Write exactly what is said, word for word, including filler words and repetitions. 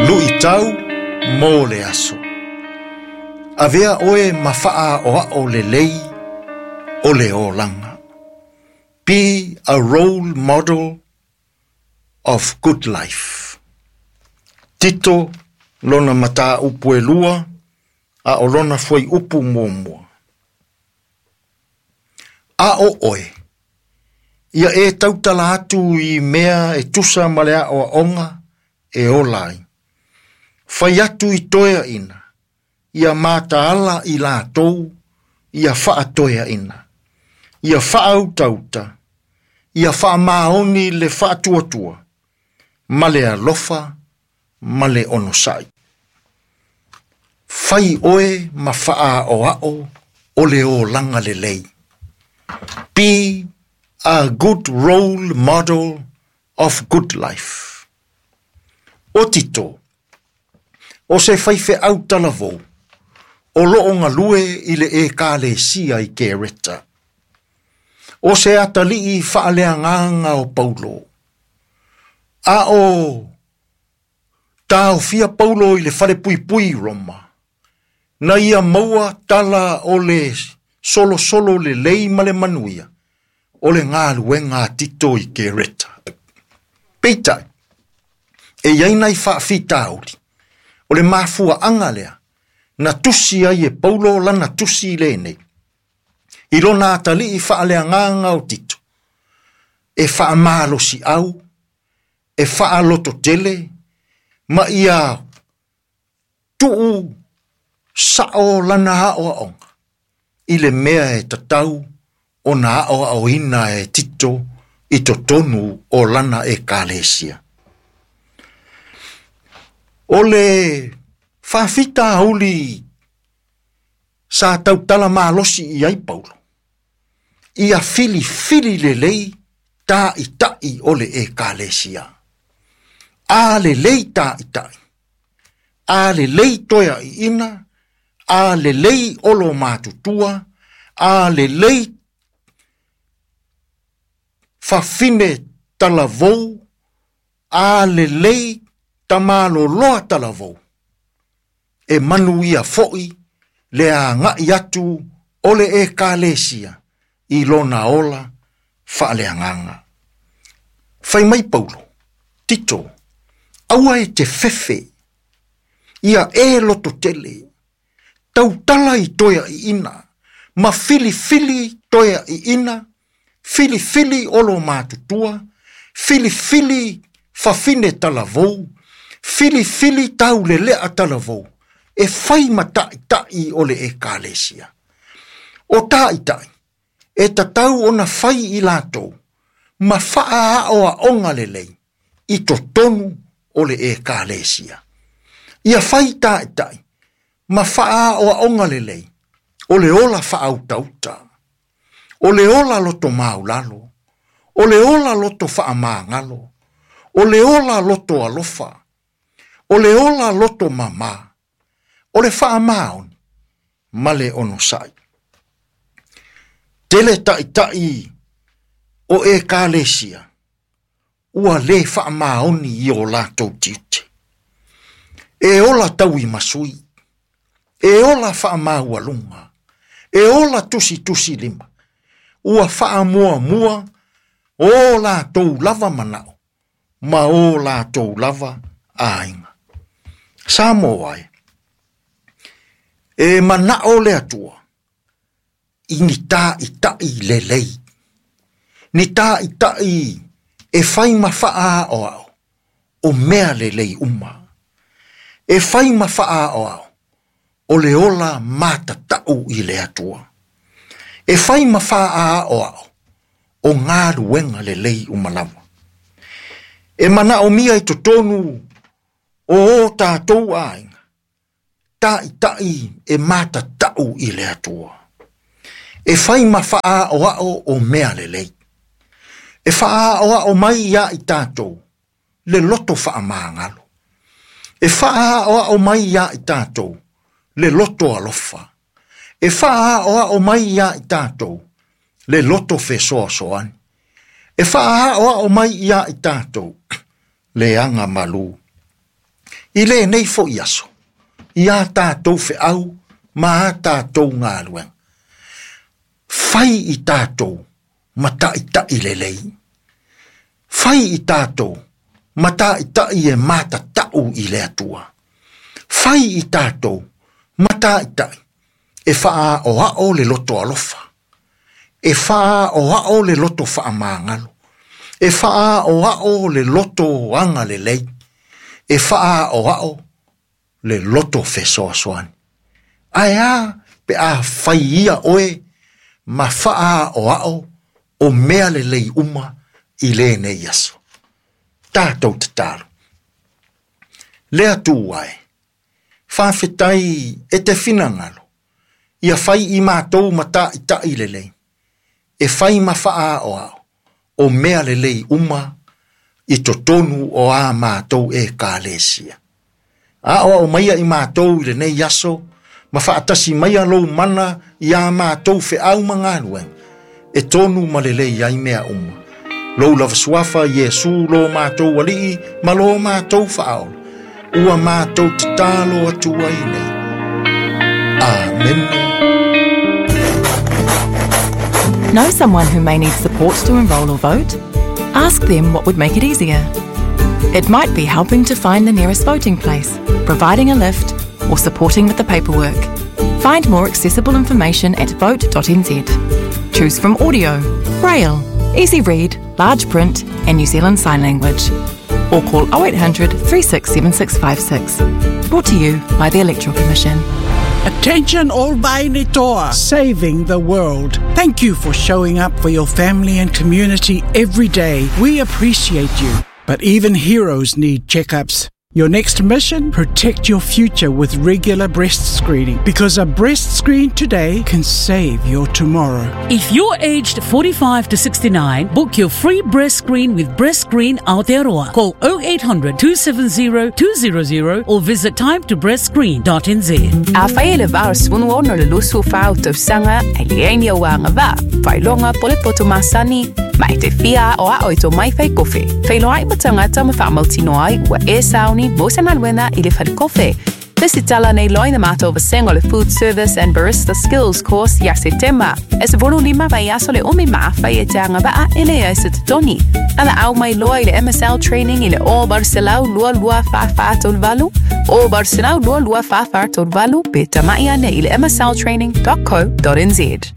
Luʻitau mo le aso. Avea oe ma faaoao lelei o le olaga. Be a role model of good life. Tito lona mataupu e lua a o lona fuaiupu muamua. A o oe, ia e tautala atu i mea e tusa ma le aoaoga e ola ai. Fai atu i toeaina, ia mataala i latou, ia faatoeaina, ia faautauta, ia faamaoni le faatuatua, ma le alofa, ma le onosai. Fai oe ma faaoao o le olaga lelei. Be a good role model of good life. O Tito, o se faifeau talavou, o loo galue i le ekalesia i Kereta. O se atalii faaleagaga o Paulo. A o taofia Paulo i le falepuipui i Roma, na ia maua tala o le solosolo lelei ma le manuia, o le galuega a Tito i Kereta. Peitai, e iai nai faafitauli, o le mafuaaga lea, na tusi ai e Paulo lana tusi lenei, i lona atalii faaleagaga o Tito, e faamalosiau, e faalototele, ma ia tuu sao lana aoaoga, i le mea e tatau ona aoaoina e Tito i totonu o lana ekalesia. O le faafitauli sa tautala malosi i ai Paulo, ia filifili lelei taʻitaʻi o le ekalesia. A lelei taʻitaʻi, a lelei toeaʻiina, a lelei olo matutua, a lelei fafine talavou, a lelei tamaloloa talavou. E manuia foʻi le agaʻi atu o le ekalesia i lona ola faaleagaga. Fai mai Paulo, Tito, aua e te fefe, ia e lototele, tautala i toeaʻiina, ma filifili toeaʻiina, filifili olo matutua, filifili fafine talavou, filifili taulelea talavou, e fai ma taʻitaʻi o le ekalesia. O taʻitaʻi, e tatau ona fai i latou, ma faaoaoga lelei, i totonu o le ekalesia. Ia fai taʻitaʻi, ma faaoaoga lelei, o le ola faautauta, o le ola loto maulalo, o le ola loto faamagalo, o le ola loto alofa, o le ola loto mama, o le faamaoni, ma le onosai. Tele taʻitaʻi o ekalesia, ua le faamaoni i o latou tiute. E ola tauimasui, e ola faamaualuga, e ola tusitusi lima, ua faamuamua o latou lava manao, ma o latou lava aiga. Samoa ai, e manao le Atua, i ni taʻitaʻi lelei, ni taʻitaʻi e fai ma faaoao, o mea lelei uma. E fai ma faaoao, o le ola matatau i le Atua. E fai ma faaoao, o galuega lelei uma lava. E manaomia i totonu o o tatou aiga, taʻitaʻi e matatau i le Atua. E fai ma faaoao o mea lelei. E faaoao mai ia i tatou le loto faamagalo. E faaoao mai ia i tatou le loto alofa. E faaoao mai ia i tatou le loto fesoasoani. E faaoao mai ia i tatou le agamalu. I lenei fo'i aso, i a tātou feau ma a tātou galuega. Fai i tātou ma ta'ita'i lelei. Fai i tātou ma ta'ita'i e matata'u i le Atua. Fai i tātou ma ta'ita'i e fa'aoa'o le loto alofa. E fa'aoa'o le loto fa'amagalo. E fa'aoa'o le loto agalelei. E fa'aoa'o le loto fesoasoani. Ae a pe a fai ia oe ma fa'aoa'o o mea lelei uma i lenei aso. Tātou tatalo. Le Atua e, faafetai e te finagalo, ia fai i mātou ma ta'ita'i lelei, e fai ma fa'aoa'o o mea lelei uma i totonu o a mātou ekalesia. A'oa'o maia i mātou i lenei aso, ma fa'atasi maia lou mana i a mātou feau ma galuega, e tonu ma lelei ai mea uma. Lou lava suafa Iesu lo mātou ali'i ma lo mātou fa'aola. Ua mātou tatalo atu ai nei. Amen. Know someone who may need support to enrol or vote? Ask them what would make it easier. It might be helping to find the nearest voting place, providing a lift, or supporting with the paperwork. Find more accessible information at vote dot n z. Choose from audio, braille, easy read, large print, and New Zealand Sign Language. Or call oh eight hundred, three six seven six five six. Brought to you by the Electoral Commission. Attention all Vainitoa, saving the world. Thank you for showing up for your family and community every day. We appreciate you. But even heroes need checkups. Your next mission? Protect your future with regular breast screening, because a breast screen today can save your tomorrow. If you're aged forty-five to sixty-nine, book your free breast screen with Breast Screen Aotearoa. Call oh eight hundred, two seven zero, two zero zero or visit time to breast screen dot n z. A whai le vāra swunu ono le lusu whau tausanga e le eini o wanga vā. Whailonga pole poto masani, ma e te fia o a oito mai whai kofe. Whailoa i matangata ma whaamautino ai ua e sauni mo se galuega i le falekofe. Lesitala nei loa ina mātou vasenga o le Food Service and Barista Skills Course ia Setema. E se volu lima vai aso le umi maafai e te angavaa e le ai se totoni. Ala au mai loa i le M S L Training i le o Barcelau lua lua wha wha tolu valu, o Barcelau lua lua wha wha tolu valu pe tamai ane i le M S L training dot co dot n z.